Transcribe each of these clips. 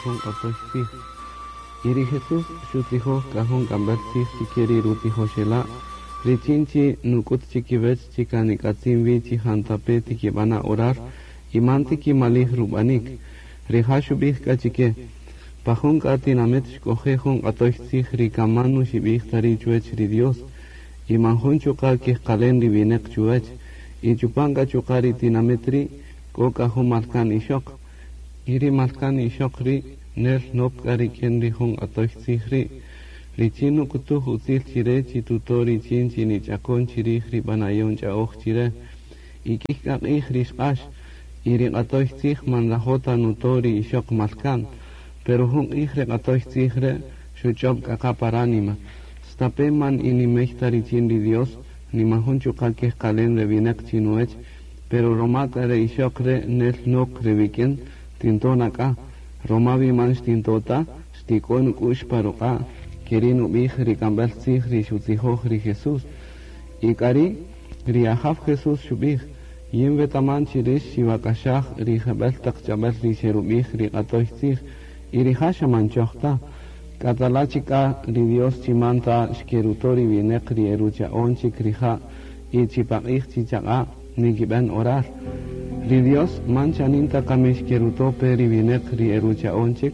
jun q'atoy tzij. Y ri Jesús xutzijoj k'a jun k'amb'äl tzij chi ke ri rutijoxela' richin chi nuk'ut chi kiwäch chi kan nik'atzin wi chi jantape' tikib'ana' orar y man tikimalij rub'anik. Rija' xub'ij k'a chi ke, Pa jun k'a tinamït xk'oje' jun q'atoy tzij ri kan man nuxib'ij ta ri' chuwäch ri Dios y man jun chuqa' kejqalen ri winäq chuwäch. Y chupan k'a chuqa' ri tinamït ri' k'o k'a jun malka'n ixöq. Y ri malka'n ixöq ri' nel nok k'a rik'in ri jun q'atoy tzij ri', richin nuk'utuj utzil chi re chi tuto' richin chi nich'akon chi rij ri b'anayon ch'a'oj chi re. Y k'ïy k'a q'ij ri xq'ax, y ri q'atoy tzij man nrajo' ta nuto' ri ixöq malka'n. Pero jun q'ij re q'atoy tzij re' xuch'öb' k'a qa pa ránima, Stape' man inimey ta richin ri Dios, ni man jun chuqa' kejqalen re winäq chi nuwech, pero roma k'a re ixöq re' nel nok re wik'in, tinto' na k'a. Roma wi man xtinto' ta, xtik'o nuk'u'x pa ruq'a'. Keri' nub'ij ri k'amb'äl tzij ri xutzijoj ri Jesús. Y k'ari' ri Ajaw Jesús xub'ij, Yin wetaman chi rix xiwak'axaj ri jeb'ël taq ch'ab'äl ri xerub'ij ri q'atoy tzij, y rija' xa man choj ta. K'atala' chik k'a ri Dios chi man ta xkeruto' ri wineq ri e rucha'on chik rija' y chi paq'ij chi chaq'a' nikib'en orar. Ri Dios man chanin ta kami xkeruto' pe ri wineq ri e rucha'on chik?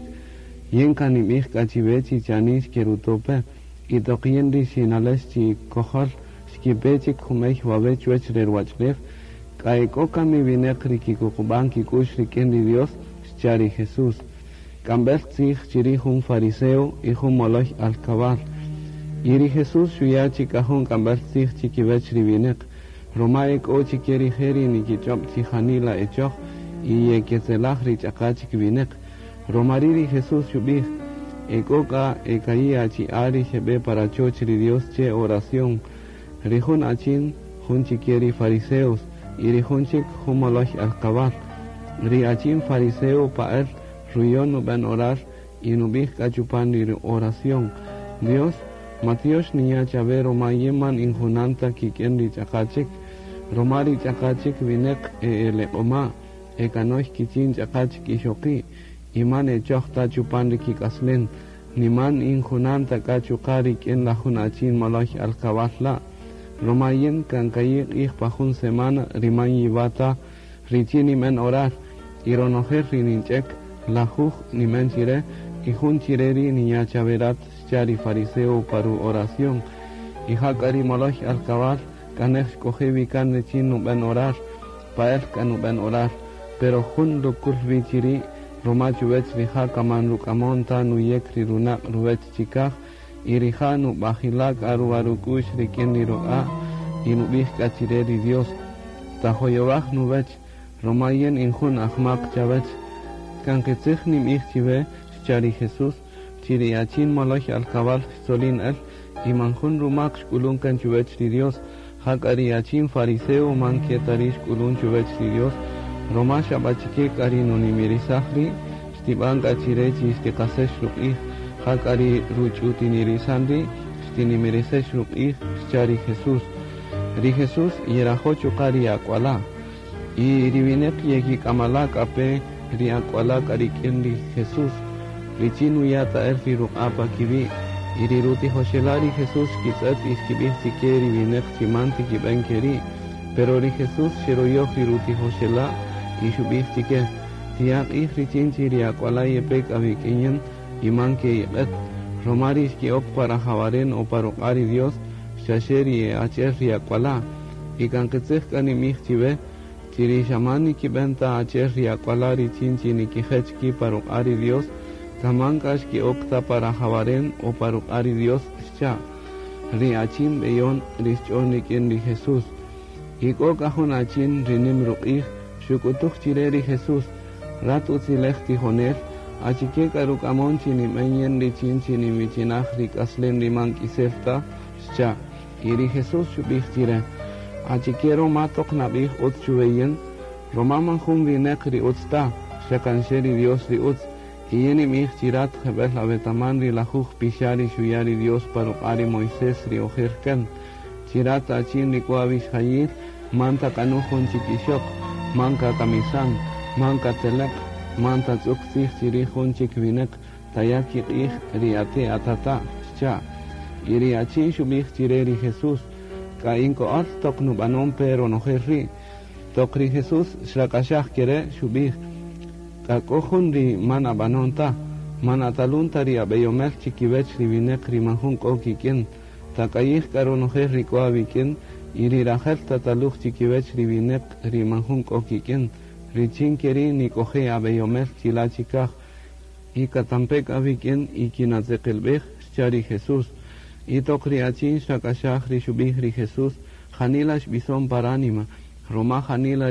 Yin kan ninb'ij k'a chiwe chi chanin xkeruto' pe. Y toq yin ri xinalex chi kojol xkipe chik jumey wawe' chuwech re ruwach'ulew, k'a ek'o kami wineq ri kikuqub'an kik'u'x rik'in ri Dios? Xcha' ri Jesús. K'amb'el tzij chirij jun fariseo y jun moloy alkabal. Y ri Jesús xuya' chik k'a jun k'amb'el tzij chikiwech ri wineq, roma ek'o chike rije' ri nikich'ob' chi janila e choj y yeketzelaj ri ch'aqa' chik wineq. Roma ri' ri Jesús xub'ij, Ek'o k'a e ka'i' achi'a' ri xeb'e pa rachoch ri Dios che oración. Ri jun achin, jun chike ri fariseos, y ri jun chik, jun moloy alkabal. Ri achin fariseo pa'äl ruyon nub'en orar y nub'ij k'a chupan ri oración, Dios, matyox ninya' chawe roma yin man in junan ta kik'in ri ch'aqa' chik, roma ri ch'aqa' chik wineq e eleq'oma', e kanöy kichin ch'aqa' chik ixoqi', y man e choj ta chupan ri kik'aslen, ni man in junan ta k'a chuqa' rik'in la jun achin moloy alkabal la', roma yin kan ka'i' q'ij pa jun semana ri man yiwa' ta richin ninben orar, y ronojel ri ninch'ek, lajuj ninben chire, y jun chire ri' ninya' chawe rat, xcha' ri fariseo pa ru-oración. Y jak'a ri moloy alkabal k'a nej xk'oje' wi kan richin nuben orar. Pa'el k'a nub'en orar, pero jun rukul wi chiri' ruma chuwech rija' ka man ruk'amon ta nuyek ri runaq' ruwech chikaj, y rija' nub'ajila' k'a ruwa-ruk'u'x rik'in ri ruq'a' y nub'ij k'a chire ri Dios, Tajoyowaj nuwech, ruma yin in jun ajmak chawech. Kan qitzij ninb'ij chiwe, xcha' ri Jesús, chi ri achin moloy alkabal xtzolin el y man jun rumak xk'ulun kan chuwech ri Dios, Jak'a ri achin fariseo man ke ta ri' xk'ulun chuwech ri Dios, roma xabachike k'a ri nunimirisaj ri', xtib'an k'a chire chi xtiqasex ruq'ij, jak'a ri ruch'utinirisan ri', xtinimirisex ruq'ij, xcha' ri Jesús. Ri Jesús yerajo' chuqa' ri ak'uala'. Y ri wineq yekik'amala' k'a pe ri ak'uala' k'a rik'in ri Jesús, richin nuya' ta el ri ruq'a' pa kiwi'. Y ri rutijoxela' ri Jesús xkitz'et y xkib'ij chike ri wineq chi man tikib'en keri'. Pero ri Jesús xeroyoj ri rutijoxela' y xub'ij chike, Tiya' q'ij richin chi ri ak'uala' yepe k'a wik'in yin y man ke'iq'et, roma ri xke'ok pa rajawaren o pa ruq'a' ri Dios, xaxe ri e achi'el ri ak'uala'. Y kan qitzij k'a ninb'ij chiwe, chi ri xa man nikib'en ta achi'el ri ak'uala' richin chi nikijech ki' pa ruq'a' ri Dios, kan man k'a xke'ok ta pa rajawaren o pa ruq'a' ri Dios, xcha' ri achin b'eyon ri xch'on rik'in ri Jesús. Y k'o k'a jun achin ri nim ruq'ij xuk'utuj chire ri Jesús, Rat utzilej tijonel, achike k'a ruk'amon chi ninb'en yin richin chi ninwichinaj ri k'aslen ri man k'isel ta? xcha'. Y ri Jesús xubij chire, Achike roma toq nabij utz chuwe yin? Roma man jun wineq ri utz ta, xa kan xe ri Dios ri utz. Y yin ninbij chi rat jebel awetaman ri lajuj pixa' ri xuya' ri Dios pa ruq'a' ri Moisés ri ojer kan, chi rat achin ri k'o awixjayil, man tak'anuj jun chik ixoq, man kakamisan, man kateleq', Man tatz'uk tzij chirij jun chik wineq, taya' kiq'ij ri ate' atata', xcha'. Y ri achin xub'ij chire ri Jesús: K'a in ko'öl toq nub'anon pe ronojel ri'. Toq ri Jesús xrak'axaj kere', xub'ij: K'a k'o jun ri man ab'anon ta. Man atalun ta ri ab'eyomel chikiwech ri wineq ri man jun k'o kik'in. Tak'ayij k'a ronojel ri k'o awik'in y ri rajel tataluj chikiwech ri wineq ri man jun k'o kik'in, richin keri' nik'oje' ab'eyomel chila' chikaj. Y katampe k'a wik'in y kinatzeqelb'ej, xcha' ri Jesús. Y toq ri achin xrak'axaj ri xub'ij ri Jesús, janila xb'ison pa ránima, roma janila.